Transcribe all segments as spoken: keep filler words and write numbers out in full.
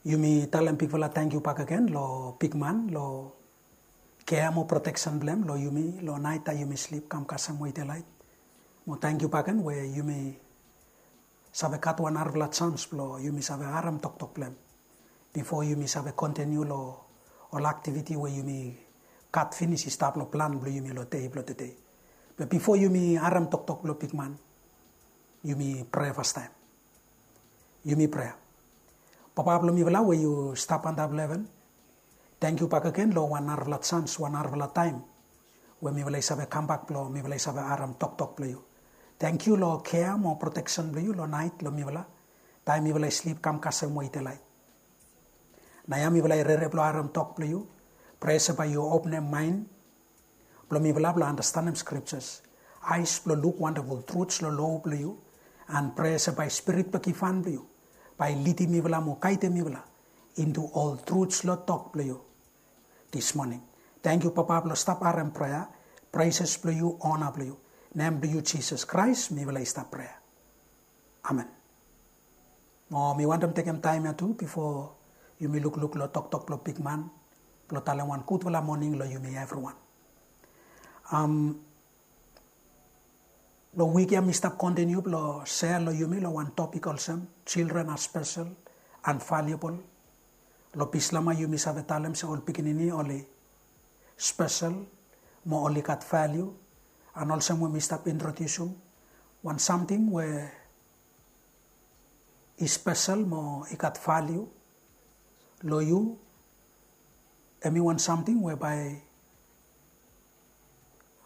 Yumi talem bigfala tangkiu bakegen lo bigman lo kea mo proteksen blong em lo yumi lo nait taem yumi slip kam kasem we i delaet. Mo tangkiu bakegen we yumi save gat wan narafala jans blong yumi save harem toktok blong em bifo yumi save kontiniu lo ol aktiviti we yumi gat finis i stap lo plan blong yumi lo dei blong tedei. Be bifo yumi harem toktok blong bigman, yumi prea fastaem. Yumi prea. Papa blong mifala we yu stap antap lo heven, tangkiu bakegen lo wan narafala jans, wan narafala taem we mifala i save kambak blong mifala i save harem toktok blong yu. Tangkiu lo kea mo proteksen blong yu lo nait lo mifala taem mifala i slip kam kasem we i delaet. Naoia mifala i rere blong harem tok blong yu. Prea se bae yu openem maen blong mifala blong andastanem skriptas, aes blong luk wandaful truts lo lo blong yu. An prea se bae spirit blong givhan blong yu bae i lidim mifala mo gaedem mifala intu ol truts lo tok blong yu dis moning. Tangkiu Papa blong stap harem prea, preses blong yu, ona blong yu. Nem blong yu Jisas Kraes mifala i stap prea. Amen. Mo mi wantem tekem taem ya tu bifo yumi lukluk lo toktok blong bigman blong talem wan gudfala moning lo yumi evriwan. Am, lo wik ya mi stap kontiniu blong sea lo yumi lo wan topik olsem children are special and valuable. Lo Bislama yumi save talem se ol pikinini oli spesel mo oli gat valiu. An olsem we mi stap introdiusim wan samting we i spesel mo i gat valiu lo yu, hemi wan samting we bae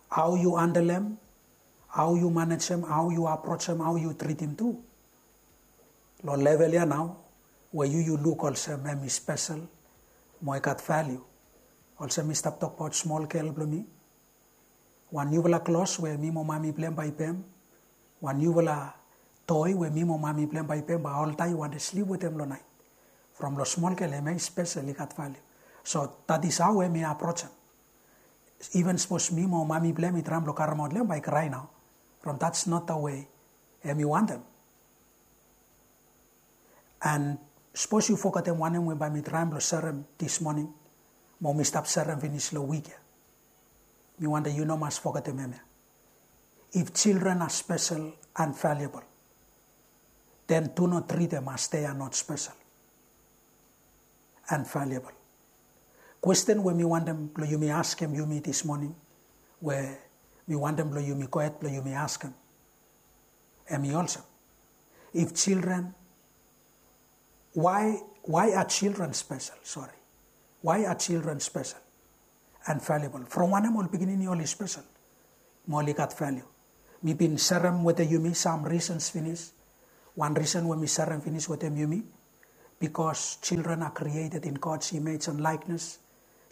hao yu handlem, hao yu manejem, hao yu aprojem, hao yu tritim tu lo level ya nao we yu yu luk olsem hemi spesel mo i gat valiu. Olsem mi stap tokbaot smol gel blong mi, wan niufala klos we mi mo mami blong hem bae i pem, wan niufala toi we mi mo mami blong hem bae i pem bae oltaem i wantem slip wetem lo naet. From lo smol gel hemia i spesel, i gat valiu. So that is hao hemi aprojem. Iven sapos mi mo mami blong hem i traem blong karemaot long hem bae i krae nao. From that's not the way hemi wantem. An sapos yu fogetem wanem we bae mi traem blong serem dis moning mo mi stap serem finis lo wik ya, mi wantem yu no mas fogetem hemia. If children are special and valuable, then do not treat them as they are not special and valuable. Kwesten we mi wantem blong yumi askem yumi dis moning, we mi wantem blong yumi gohed blong yumi askem, hemi olsem, if children, why, why are children special? Sorry. Why are children special and valuable? From wanem ol pikinini oli spesel mo oli gat valiu? Mi bin serem wetem yumi sam risens finis. Wan risen we mi serem finis wetem yumi, bikos children are created in God's image and likeness,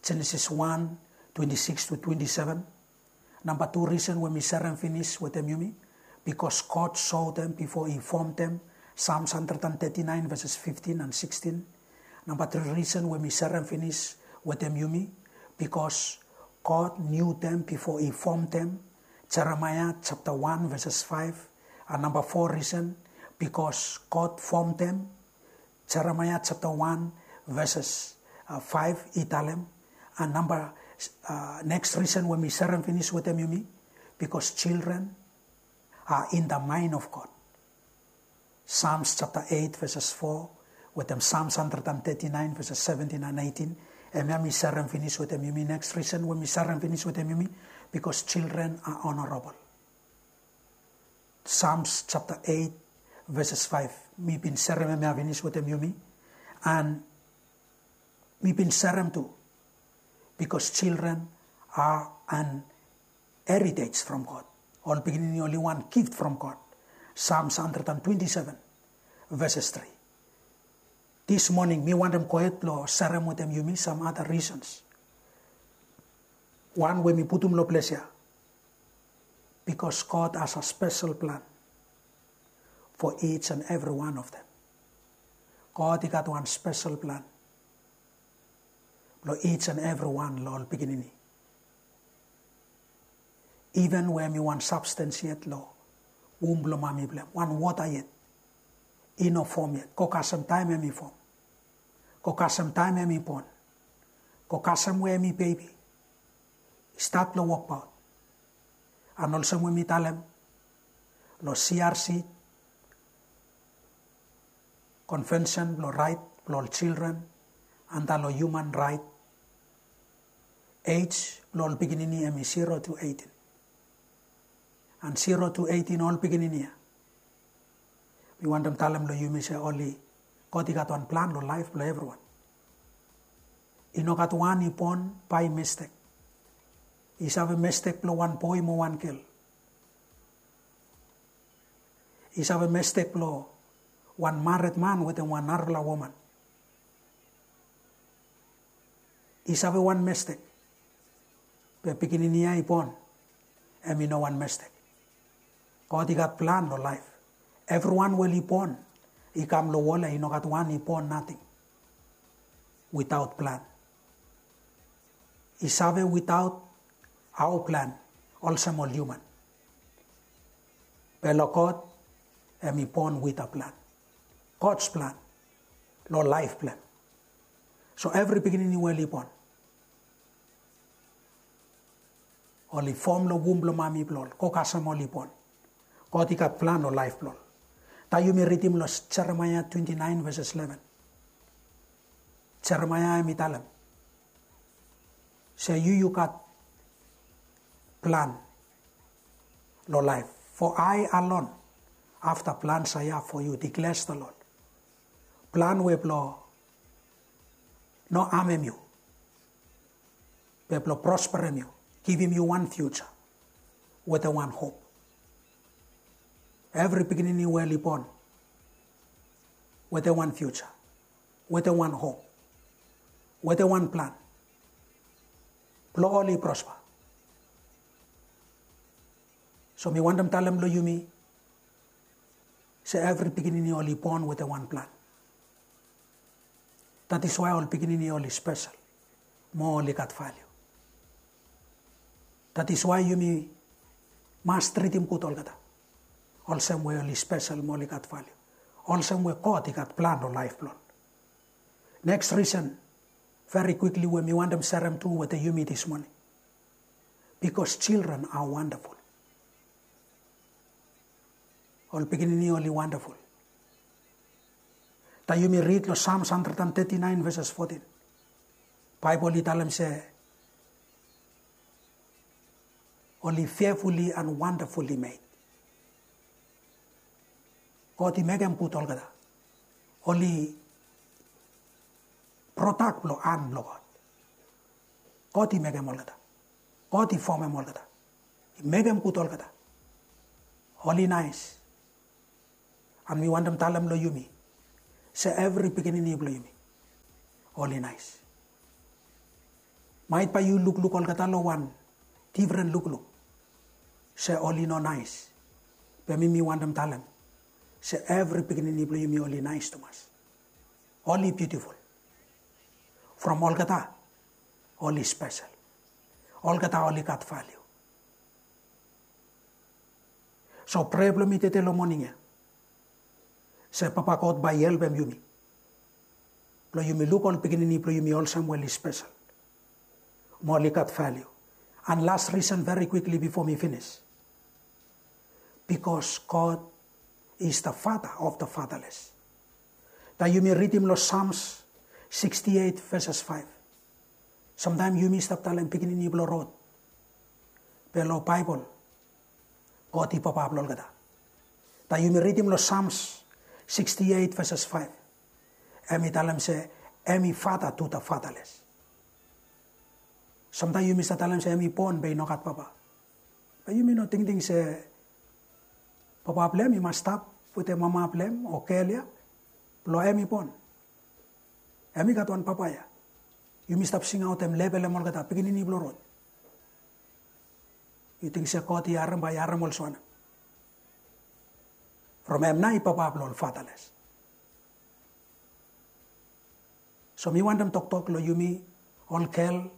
Genesis wan, twenti-siks tu twenti-seven. Namba tu risen we mi serem finis wetem yumi, bikos God soem bifo i fomem, Psalms handred an teti naen veses fiftin an sikstin. Namba tri risen we mi serem finis wetem yumi, bikos God knew them bifo i fomem, Jeremaea japta wan veses faef. An namba fo risen, bikos God fomem, Jeremaea japta wan veses faef i talem. An namba, neks risen we mi serem finis wetem yumi, bikos children are in the mind of God. Psalms japta eit veses fo wetem Psalms handred an teti naen veses seventin an eitin. Hemia mi serem finis wetem yumi. Neks risen we mi serem finis wetem yumi, bikos children are honorable. Psalms japta eit veses faef. Mi bin serem hemia finis wetem yumi. An mi bin serem tu, bikos children are an heritage from God. Ol pikinini oli wan gift from God. Psalms handred an twenti-seven veses tri. Dis moning mi wantem gohed blong serem wetem yumi sam ada risens. Wan we mi putum lo ples ya, bikos God has a special plan for each and every one of them. God i gat wan spesel plan lo each and every wan lo ol pikinini. Iven we hemi wan sabstens yet lo wom blo mami blo hem, wan wota yet, i no fom yet, go kasem taem hemi fom. Go kasem taem hem i bon. Go kasem we hem i bebi i stat long wokbaot. An olsem we mi talem long C R C, Konvensen blong Raet blong ol Jildren anda long Hiuman Raet, ej blong ol pikinini hem i zero tu eitin. An zero tu eitin ol pikinini ya, mi wantem talem long yumi se oli, God i gat wan plan long laef blong evriwan. I no gat wan i bon bae mistek. I save mistek blong wan boe mo wan gel. I save mistek blong wan mared man wetem wan narafala woman. I save wan mistek. Be pikinini ya i bon, hem i no wan mistek. God i gat plan long laef. Evriwan we oli bon i kam long wol ya, i no gat wan i bon nating witaot plan. I save witaot hao plan, olsem ol hiuman. Be long God, hem i bon wit a plan. God's plan long laef blong hem. So evri pikinini we oli bon, oli fom long wum blong mami blong ol, go kasem oli bon, God i gat plan long laef blong ol. Taem yumi ridim long Jeremaea twenti naen veses leven, Jeremaea hem i talem se yu yu gat plan long laef. For I alone have the plans I have for you, declares the Lord. Plan we blong no amem yu, be blong prosperem yu, givim yu wan fiuja wetem wan hop. Evri pikinini we oli bon wetem wan fiuja, wetem wan hop, wetem wan plan blong oli prosper. So mi wantem talem long yumi se evri pikinini oli bon wetem wan plan. That is why ol pikinini oli spesel mo oli gat valiu. That is why yumi mas tritim gud olgeta olsem we oli spesel mo oli gat valiu, olsem we God i gat plan long laef blong ol. Neks risen, veri kwikli, we mi wantem serem tu wetem yumi dis moning, because children are wonderful. Ol pikinini oli wandaful. Taem yumi rid long Psalms hundred and thirty-nine verses fourteen, Baebol i talem se oli fearfully and wonderfully made. God i mekem gud olgeta. Oli prodak blong han blong God. God i mekem olgeta. God i fomem olgeta. I mekem gud olgeta. Oli naes. And mi wantem talem long yumi se evri pikinini blong yumi oli naes. Maet bae yu lukluk olgeta long wan difren lukluk se oli no naes. Be mi mi wantem talem se evri pikinini blong yumi oli naes tumas. Oli biutiful. From olgeta oli spesel. Olgeta oli gat valiu. So prea blong mi tede long moning ya se Papa God bae i helpem yumi blong yumi luk ol pikinini blong yumi olsem we oli spesel mo oli gat valiu. And last reason, very quickly before mi finis, because God is the Father of the fatherless. Taem yumi ridim long Psalms sixty-eight verses five, samtaem yumi stap talem pikinini blong rod, be long Baebol God i papa blong olgeta. Taem yumi ridim long Psalms sixty-eight verses five, hem i talem se hem i father to the fatherless. Samtaem yumi stap talem se hem i bon be i no gat papa. Be yumi no tingting se papa blong hem i mas stap wetem mama blong hem o gel ya blong hem i bon. Hem i gat wan papa ya. Yumi stap singaotem, lebelem olgeta pikinini blong rod. Yu ting se God i harem? Bae i harem olsem wanem? From hem nao i papa blong ol fatherless. So mi wantem toktok long yumi ol gel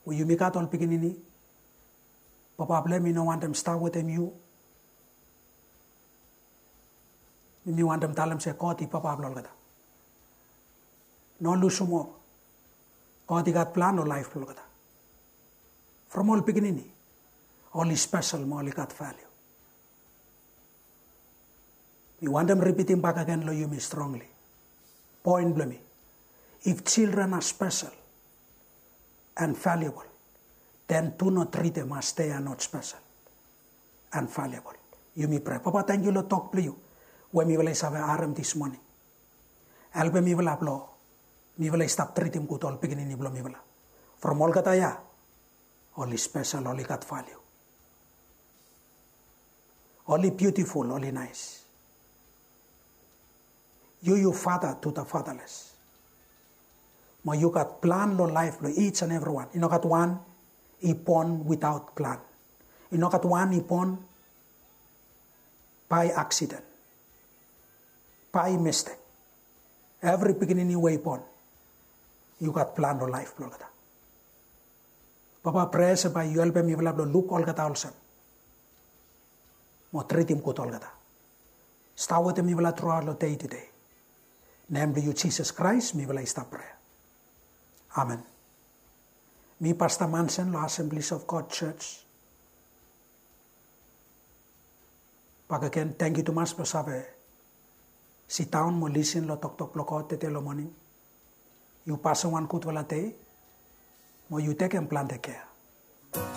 we yumi gat ol pikinini. Papa blong hem i no wantem stap wetem yu. Mi wantem talem se God i papa blong olgeta. No lusum op. God i gat plan long laef blong olgeta. From ol pikinini, oli spesel mo oli gat valiu. Mi wantem ripitim bakegen long yumi strongli. Poen blong mi, if children are special and valuable, then do not treat them as they are not special and valuable. Yumi prea, Papa, tangkiu long tok blong yu we mifala i save harem this morning. Helpem mifala blong mifala i stap tritim gud ol pikinini blong mifala. From olgeta ya, oli spesel, oli gat valiu. Oli biutiful, oli naes. Yu, yu father to the fatherless. Mo yu gat plan long laef blong each and everyone. I no gat wan i bon without plan. I no gat wan i bon by accident, by mistake. Evri pikinini we i bon, yu gat plan long laef blong olgeta. Papa, prea se bae yu helpem mifala blong luk olgeta olsem mo tritim gud olgeta. Stap wetem mifala truaot long dei tude. Nem blong yu Jisas Kraes mifala i stap prea. Amen. Mi Pasta Mansen long Assemblies of God Church. Bakegen, tangkiu tumas blong save sidaon mo lisin long toktok blong God tede long moning. Yu pasem wan gudfala dei mo yu tekem plante kea.